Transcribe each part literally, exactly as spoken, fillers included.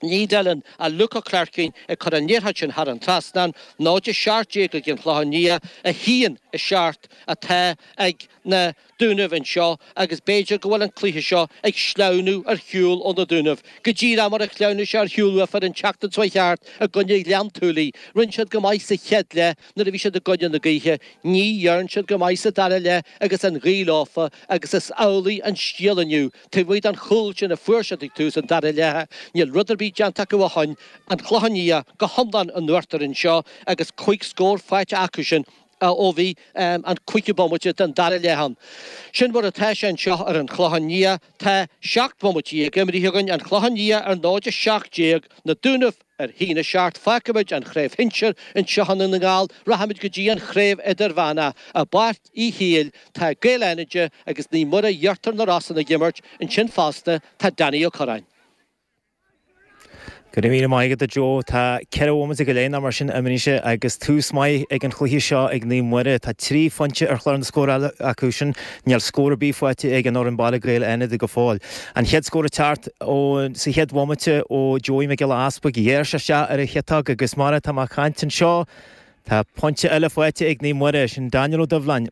Ní Dillon a Luca Clarkin ag cur an liathróid sin thar an trasnán, náid a seacht déag ag an Chlochán Liath, a haon a seacht atá ag na Dúnaibh anseo agus b'fhéidir go bhfuil an cluiche seo ag sleamhnú ar shiúl ó na Dúnaibh. Go díreach mar a shleamhnaigh sé ar shiúl uafa an tseachtain seo thart i gcoinne Ghleann tSúilí. Rinne siad go maith sa chéad leath nuair a bhí siad i gcoinne na gaoithe. Ní dhearn siad go maith sa dara leath agus an ghaoth leofa agus is amhlaidh an scéal inniu. Taobh amuigh den chúl sin a fuair siad ag tús an dara leatha, níl rud ar bith déanta acu ó shin, an Clochán Liath go hiomlán in uachtar anseo agus cúig scór faighte acu sin ó bhí an cúigiú bomaite den dara leath ann. Sin mar atá sé anseo ar an Chlochán Liath. Tá seacht mbomaite déag imrithe againn, an Clochán Liath ar náid a seacht déag, na Dúnaibh ar haon a seacht. Fágfaimid an Chraobh Shinsir anseo i nDún na nGall, rachaimid go dtí an Chraobh Idirmheánach i bPáirc Uí Shiail. Tá Gaeil Fhánaide agus Naomh Muire Íochtar na Rosann ag imirt ansin fosta. Tá Danny Ó Curráin. Go raibh míle maith agat a Joe. Tá ceithre bhomaite go leith nó mar sin imithe agus tús maith ag an chluiche seo ag Naomh Muire. Tá trí phointe ar chlár na scórála acu sin. Níl scór ar bith faighte ag an fhoireann baile Gaeil Fhánada go fóill. An chéad scór ag teacht ó sa chéad bhomaite ó Joey Mac Giolla Easpaig. Ghéar sé isteach ar a chiotóg agus mar atá mé ag caint anseo tá pointe eile faighte ag Naomh Muire, sin Daniel Ó Doibhleáin.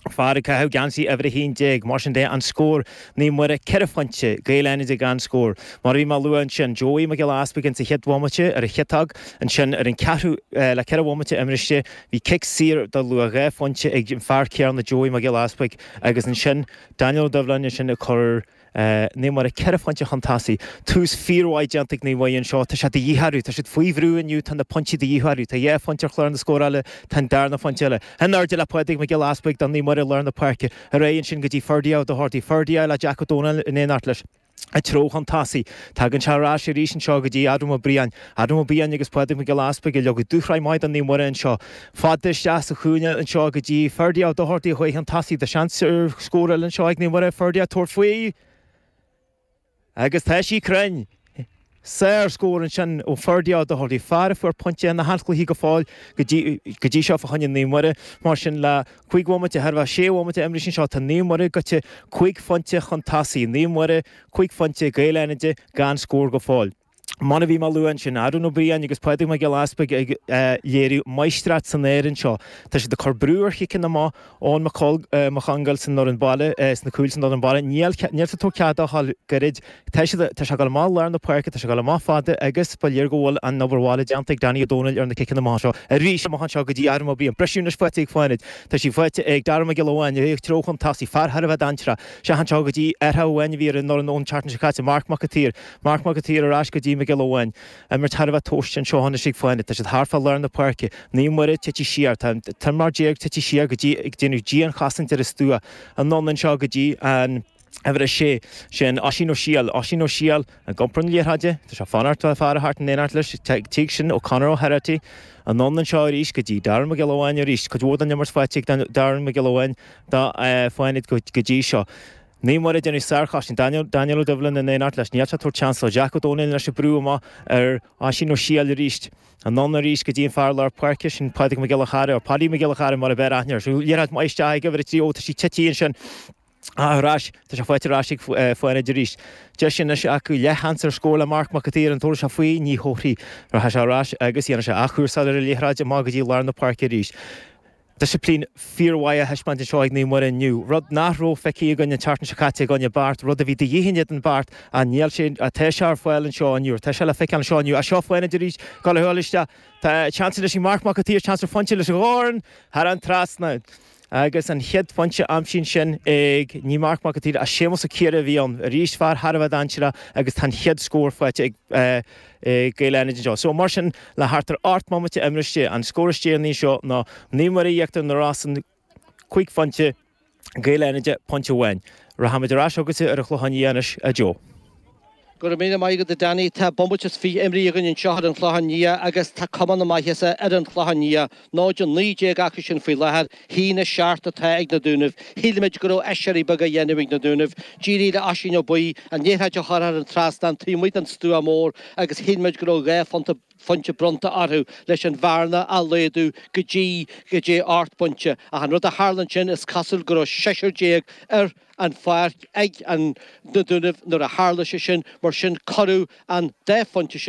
Fear ag caitheamh geansaí uimhir a haon déag. Mar sin de, an scór, Naomh Muire ceithre phointe, Gaeil Fhánada gan scór. Mar a bhí mé a lua ansin, Joey Mac Giolla Easpaig insa chéad bhomaite ar a chiotóg, ansin ar an ceathrú, le ceithre bhomaite imiriste, bhí cic saor de luach dhá phointe ag an fear céanna Joey Mac Giolla Easpaig agus ansin Daniel Ó Doibhleáin ansin ag cur Naomh Muire ceithre phointe chun tosaigh. Tús fíormhaith déanta ag Naomh Muire anseo. Tá sé de dhíth orthu. Tá siad faoi bhrú inniu. Tá na pointí de dhíth orthu. Tá dhá phointe ar chlár na scórála. Tá an darna phointe eile. In airde le Pádraig Mac Giolla Easpaig do Naomh Muire i lár na páirce. Ar aghaidh ansin go dtí Ferdia Ó Dochartaigh. Ferdia le Jack Ó Dónaill in éineacht leis. I dtreo chun tosaigh. Tagann sé ar ais arís anseo go dtí Adam Ó Briain. Adam Ó Briain agus Pádraig Mac Giolla Easpaig ag leagadh dúshraith maith do Naomh Muire anseo. Fada isteach sa chúinne anseo go dtí Ferdia Ó Dochartaigh a chuaigh chun tosaigh. Tá seans ar scór eile anseo ag Naomh Muire. Ferdia ag tabhairt faoi agus tá sí cruinn! Sár-scór ansin ó Ferdia Ó Dochartaigh, fear a fuair pointe in achan chluiche go fóill go dtí seo fá choinne Naomh Muire. Mar sin, le cúig bhomaite, thar a bheith sé bhomaite imiriste anseo, tá Naomh Muire gaibhte cúig phointe chun tosaigh. Naomh Muire, cúig phointe, Gaeil Fhánada gan scór go fóill. Mar a bhí mé a lua ansin, Aaron Ó Briain agus Pádraig Mac Giolla Easpaig ag léiriú máistreacht san aer anseo. Tá siad ag cur brú ar chiceanna amach Eoin Mac Congáil san fhoireann baile, sna cúil san fhoireann baile. Níl níl siad ag tabhairt cead dó a ghabháil gairid. Tá siad, tá sé ag dul amach lár na páirce, tá sé ag dul amach fada agus ba léir go bhfuil an obair bhaile déanta ag Danny Ó Dónaill ar na ciceanna amach seo. Arís amach anseo go dtí Aaron Ó Briain. Briseadh anois faighte ag Fánaid. Tá sí faighte ag Dara Mac Giolla Bháin, i dtreo chun tosaigh, fear thar a bheith dainséarach. Isteach anseo go dtí athrach amháin a bhí ar an fhoireann ón tseachtain seo caite, Marc Mac an tSaoir. Marc Mac an tSaoir ar ais go dtí Mac Giolla Bháin. Imirt thar a bheith tomhaiste anseo anois ag Fánaid. Tá siad thart fá lár na páirce. Naomh Muire tite siar. Tá an t-imreoir déag tite siar go dtí ag déanamh dianchosaint ar an stua. Anonn anseo go dtí an uimhir a sé. Sin Oisín Ó Siail. Oisín Ó Siail ag iompar na liathróide. Tá sé ag fanacht le fear a theacht in éineacht leis. Tig sin ó Conor O'Herity. Anonn anseo arís go dtí Darren Mac Giolla Bháin arís. Cuid mhór den imirt faighte ag Darren Mac Giolla Bháin do Fánaid go dtí seo. Naomh Muire ag déanamh sárchosaint. Daniel Daniel Ó Doibhlin in éineacht leis. Níl sé ag tabhairt seans dó. Jack Ó Dónaill anois ag brú amach ar Oisín Ó Siail arís. Anonn arís go dtí an fear lár páirce, sin Pádraig Mac Giolla Chara, or Paddy Mac Giolla Chara mar a b'fhearr aithne air. Liathróid maith isteach ag uimhir a trí. Ó, tá sí tite ansin. Ar ais. Tá sé faighte ar ais ag Fánaid arís. Deis anois acu leathsheans ar scór le Marc Mac an tSaoir. An dtabharfaidh sé faoi? Ní thabharfaidh. Rachaidh sé ar ais agus dhéanfaidh sé athchúrsáil ar an liathróid amach go dtí lár na páirce arís. Disciplín fíormhaith á thaispeáint anseo ag Naomh Muire inniu, rud nach raibh feicthe againn an tseachtain seo caite i gcoinne Beart, rud a bhí de dhíth in éadan Beart ach níl sé, tá sé ar fáil anseo inniu, tá sé le feiceáil anseo inniu. Ach seo Fánaid arís, ag dul a ghabháil isteach, tá seans anois ag Marc Mac an tSaoir, seans ar phointe leis an dhorn thar an trasnán. Agus an chéad phointe aimsithe ansin ag, ní Marc Mac an tSaoir ach Séamus Ó Ciardha a bhí ann, arís fear thar a bheith dainséarach agus tá an chéad scór faighte ag. Gaeil Fhánada anseo. So, mar sin, le thart ar ocht mbomaite imiriste, an scór is deireanaí anseo ná Naomh Muire Íochtar na Rosann, cúig phointe, Gaeil Fhánada, pointe amháin. Rachaimid ar ais chugatsa ar an Chlochán Liath anois, a Joe. Go raibh míle maith agat, a Danny. Tá bomaite is fiche imrithe againn anseo ar an Chlochán Liath agus tá cuma na maitheasa ar an Chlochán Liath. Náid a naoi déag acu sin faoi láthair, haon a seacht atá ag na Dúnaibh. Shíl muid go raibh aiséirí beag á dhéanamh ag na Dúnaibh. D'éirigh le Oisín Ó Baoill an liathróid a chur thar an trasnán taobh amuigh den stua mór agus shíl muid go raibh dhá phonta phointe bronnta orthu leis an bhearna a laghdú go dtí go dtí ocht bpointe. Ach an rud a tharla ansin is cosúil go raibh seisear déag ar an pháirc ag an na Dúnaibh nuair a tharla sé sin, mar sin cuireadh an dá phointe sin